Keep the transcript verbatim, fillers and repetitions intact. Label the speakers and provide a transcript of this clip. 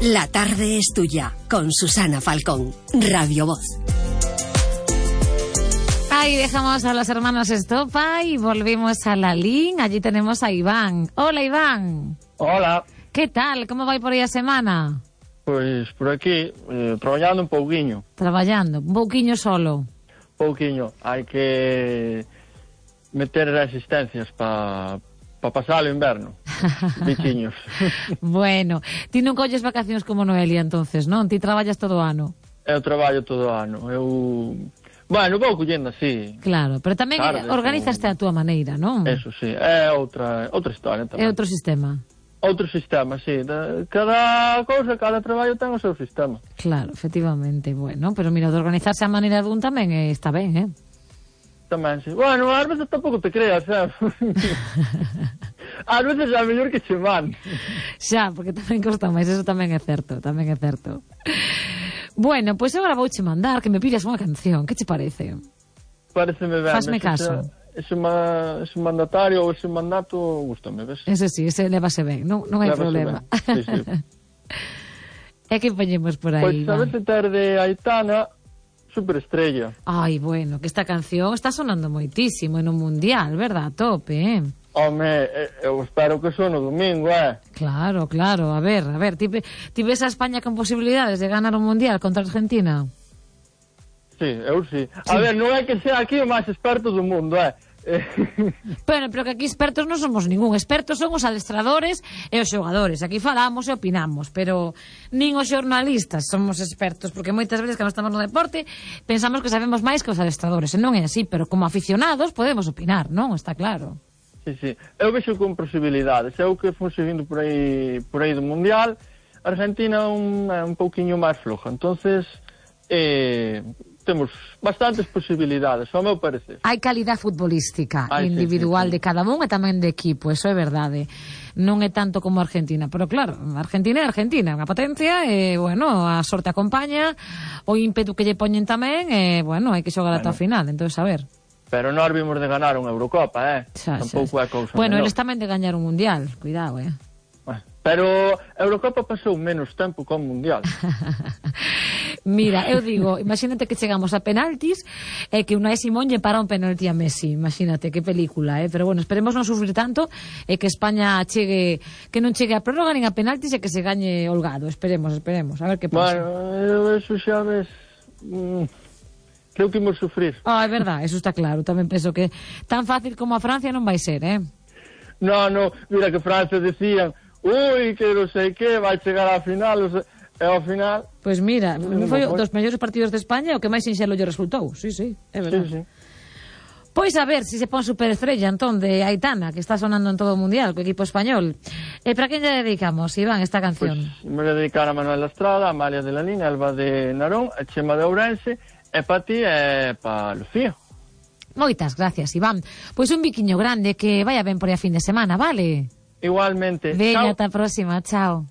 Speaker 1: La tarde es tuya, con Susana Falcón, Radio Voz.
Speaker 2: Ahí dejamos a los hermanos Estopa y volvimos a la Lin. Allí tenemos a Iván. Hola, Iván.
Speaker 3: Hola.
Speaker 2: ¿Qué tal? ¿Cómo vai por aí a semana?
Speaker 3: Pois por aquí, eh, traballando un pouquiño.
Speaker 2: Traballando, un pouquiño solo.
Speaker 3: Pouquiño. Hai que meter resistencias para pa pasar o inverno. Bichiños.
Speaker 2: Bueno, ti non colles vacacións como Noelia, entonces, non? Ti traballas todo o ano.
Speaker 3: Eu traballo todo o ano. Eu... Bueno, vou collendo así.
Speaker 2: Claro, pero tamén tardes, organizaste a túa maneira, non?
Speaker 3: Eso sí, é outra, outra historia tamén.
Speaker 2: É outro sistema.
Speaker 3: Outro sistema, sí. Cada cousa, cada traballo ten o seu sistema.
Speaker 2: Claro, efectivamente. Bueno, pero mira, de organizarse a maneira dun tamén eh, está ben, eh?
Speaker 3: Tamén, sí. Bueno, ás veces tampouco te creas, eh? Ás veces é mellor que che van.
Speaker 2: Xa, porque tamén costa máis, eso tamén é certo, tamén é certo. Bueno, pois pues agora vouche mandar que me pidas unha canción, que che parece?
Speaker 3: Pareceme ben.
Speaker 2: Fasme caso.
Speaker 3: Ese, ma, ese mandatario ou ese mandato gustame, ves?
Speaker 2: Ese sí, ese levase ben, non, non hai
Speaker 3: levase
Speaker 2: problema.
Speaker 3: Sí, sí.
Speaker 2: E que poñemos por aí?
Speaker 3: Pois pues, a veces tarde Aitana, Superestrella.
Speaker 2: Ai, bueno, que esta canción está sonando moitísimo en un mundial, verdad? A tope, eh?
Speaker 3: Home, eu espero que son no domingo, eh?
Speaker 2: Claro, claro, a ver, a ver, ti, ti ves a España con posibilidades de ganar un mundial contra Argentina?
Speaker 3: Sí, eu sí.
Speaker 2: sí.
Speaker 3: A ver, non é que sea aquí o máis experto do mundo, eh?
Speaker 2: Bueno, pero que aquí expertos non somos ningún. Expertos son os adestradores e os xogadores. Aquí falamos e opinamos, pero nin os xornalistas somos expertos, porque moitas veces cando estamos no deporte pensamos que sabemos máis que os adestradores, e non é así, pero como aficionados podemos opinar, non? Está claro.
Speaker 3: Sí, sí. Eu vexo con posibilidades. Eu que fun seguindo por aí por aí do Mundial, Argentina un, un pouquiño máis floja. Entonces, eh... temos bastantes posibilidades, ao meu parecer.
Speaker 2: Hai calidad futbolística
Speaker 3: Ay,
Speaker 2: individual
Speaker 3: sí, sí, sí.
Speaker 2: de cada un e tamén de equipo, eso é verdade. Non é tanto como Argentina, pero claro, Argentina é Argentina, unha potencia, e, bueno, a sorte acompaña, o ímpetu que lle poñen tamén, e, bueno, hai que xogar bueno. ata o final, entón, a ver.
Speaker 3: Pero nós vimos de ganar unha Eurocopa, eh?
Speaker 2: Xa,
Speaker 3: tampouco
Speaker 2: xa.
Speaker 3: é cousa
Speaker 2: Bueno,
Speaker 3: menor.
Speaker 2: eles tamén de gañar un Mundial, cuidado, eh?
Speaker 3: Pero a Eurocopa pasou menos tempo que o Mundial.
Speaker 2: Mira, eu digo, imagínate que chegamos a penaltis e que Unai Simón lle para un penalti a Messi, imagínate, que película, eh? Pero bueno, esperemos non sufrir tanto e que España chegue, que non chegue a prórroga nin a penaltis e que se gañe holgado, esperemos, esperemos, a ver que pasa.
Speaker 3: Bueno, eso xa ves... Mm, creo que imos sufrir.
Speaker 2: Ah, é verdad, eso está claro, tamén penso que tan fácil como a Francia non vai ser, eh?
Speaker 3: No, no, mira que Francia decían, ui, que non sei que, vai chegar á final, o sea, e ao final...
Speaker 2: Pois pues mira, non foi dos mellores partidos de España o que máis sinxelo lle resultou, sí, sí, é verdad.
Speaker 3: Sí, sí.
Speaker 2: Pois a ver se si se pon Superestrella, entón, de Aitana, que está sonando en todo o mundial, co equipo español. E para quen lle dedicamos, Iván, esta canción?
Speaker 3: Pois pues, me voy a dedicar a Manuel Estrada, a Amalia de la Línea, Alba de Narón, a Chema de Ourense, e para ti e para Lucía.
Speaker 2: Moitas gracias, Iván. Pois un biquiño grande, que vaya ben por aí a fin de semana, vale?
Speaker 3: Igualmente.
Speaker 2: Veña, ata a próxima, chao.